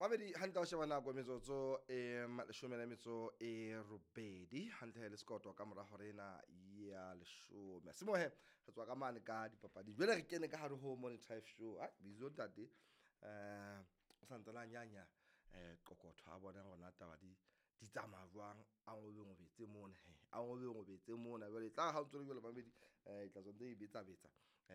Mamedi hantle, o sheba nako, metsotso e 18 hantle le sekoto ka mora hore ena ya 10. Semohe re tswa ka mane ka dipapading, jwale re kene ka hare ho Morning Drive Show. Ah, bizo ntate o santsane a nyanya qoqotho a bona hore na taba di tsamaya jwang, a ngobengobetse mona he, a ngobengobetse mona. Jwale e tla ha o ntso le jwalo mamedi, tla tswa ntse e betsa betsa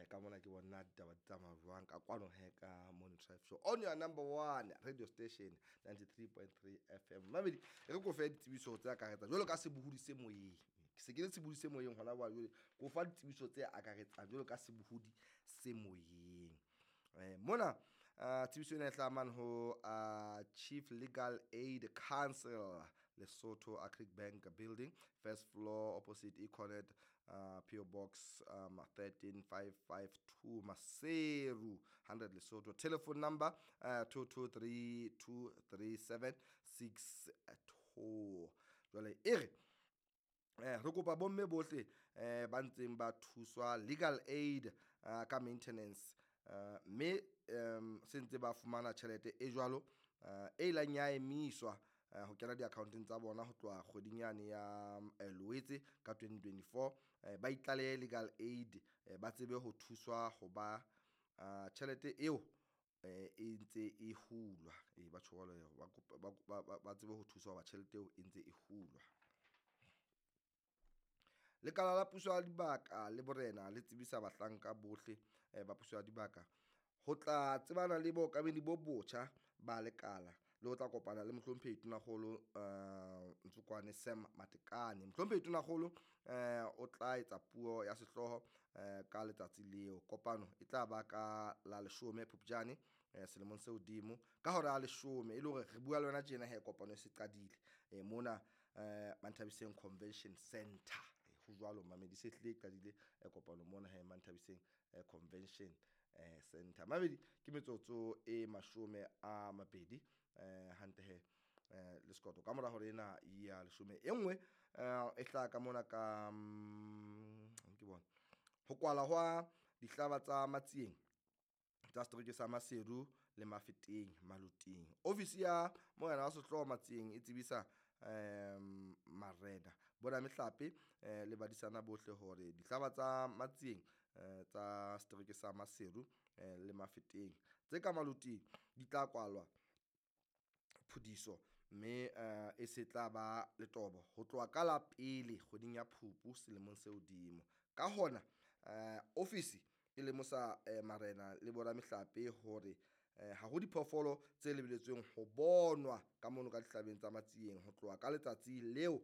ka mona, ke bona ditaba di tsamaya jwang ka kwano he ka Morning Drive Show on your number one radio station, 93.3 FM. Mamedi, e re ko fe ditsebiso tse akaretsang jwalo ka sebohodi se moyeng. Ke se ke le sebohodi se moyeng hona jwale, ko fa ditsebiso tse akaretsang jwalo ka sebohodi se moyeng. Mona tsebiso ena e hlaha mane ho Chief Legal Aid Council, Lesotho, Agric Bank Building, first floor, opposite Econet, PO Box 13552, Maseru 100, Lesotho. Telephone number 22323762. Jwale e re re kopa bomme bohle ba ntseng ba thuswa legal aid ka maintenance, mme se ntse ba fumana tjhelete e jwalo e ilang ya emiswa ho kena di-account-eng tsa bona ho tloha kgweding yane ya Loetse ka 2024, ba itlalehe legal aid, ba tsebe ho thuswa ho ba tjhelete eo e ntse e hulwa. Ba tjho jwalo, ba tsebe ho thuswa hoba tjhelete eo e ntse e hulwa. Lekala la puso ya dibaka le borena le tsebisa bahlanka bohle ba puso ya dibaka ho tla tsebana le bookamedi bo botjha ba lekala le ho tla kopana le Mohlomphehi Tonakgolo Ntsokwane Sam Matekane. Mohlomphehi Tonakgolo o tla etsa puo ya sehlooho ka letsatsi leo. Kopano e tla ba ka la 10 Phupjane selemong se hodimo ka hora ya 10, e le hore re bua le wena tjena he kopano e se qadile mona Manthabiseng Convention Center. Ho jwalo mamedi, se hlile e qadile kopano mona he Manthabiseng Convention Center. Mamedi, ke metsotso e 20 hantle he le sekoto ka mora hore ena ya 10. E nngwe e hlaha ka mona ka ke bona ho kwala hwa dihlaba tsa Matsieng tsa setereke sa Maseru le Mafeteng Maluting. Ofisi ya morena wa sehlooho Matsieng e tsebisa marena, boramehlape le badisana bohle hore dihlaba tsa Matsieng tsa setereke sa Maseru le Mafeteng tse ka Maluting di tla kwalwa phudiso, mme e se tla ba letobo ho tloha ka la pele kgweding ya Phupu selemong se hodimo. Ka hona ofisi e lemosa marena le boramehlape hore ha ho diphoofolo tse lebeletsweng ho bonwa ka mono ka dihlabeng tsa Matsieng ho tloha ka letsatsi leo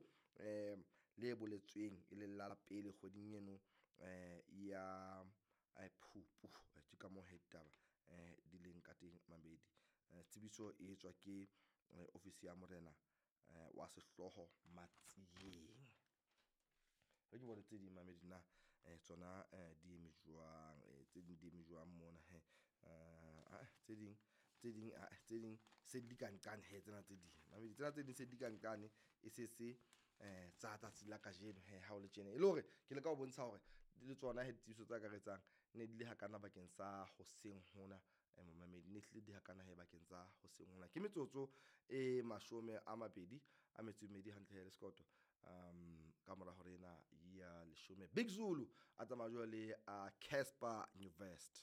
le boletsweng e leng la pele kgweding eno ya Phupu. Ke ka moo he ditaba di leng ka teng mabedi. Tsebiso e etswa ke ofisi ya morena wa sehlooho Matsieng. Re ke bone tse ding mamedi na tsona di eme jwang, tse ding di eme jwang mona he. Tse ding tse ding tse ding se di ka nqane he, tsena tse ding mamedi, tsena tse ding se di ka nqane e se se tsa tsatsi la kajeno he. Ha o le tjena e le hore ke le ka ho bontsha hore le tsona he ditsebiso tse akaretsang ne di le hakana bakeng sa hoseng hona, momamedi, ne hlile di hakana he bakeng tsa hoseng hona. Ke metsotso e 24 hantle he le sekoto ka mora hore ena ya 10. Big Zulu a tsamaya jwale le Casper Nyovest.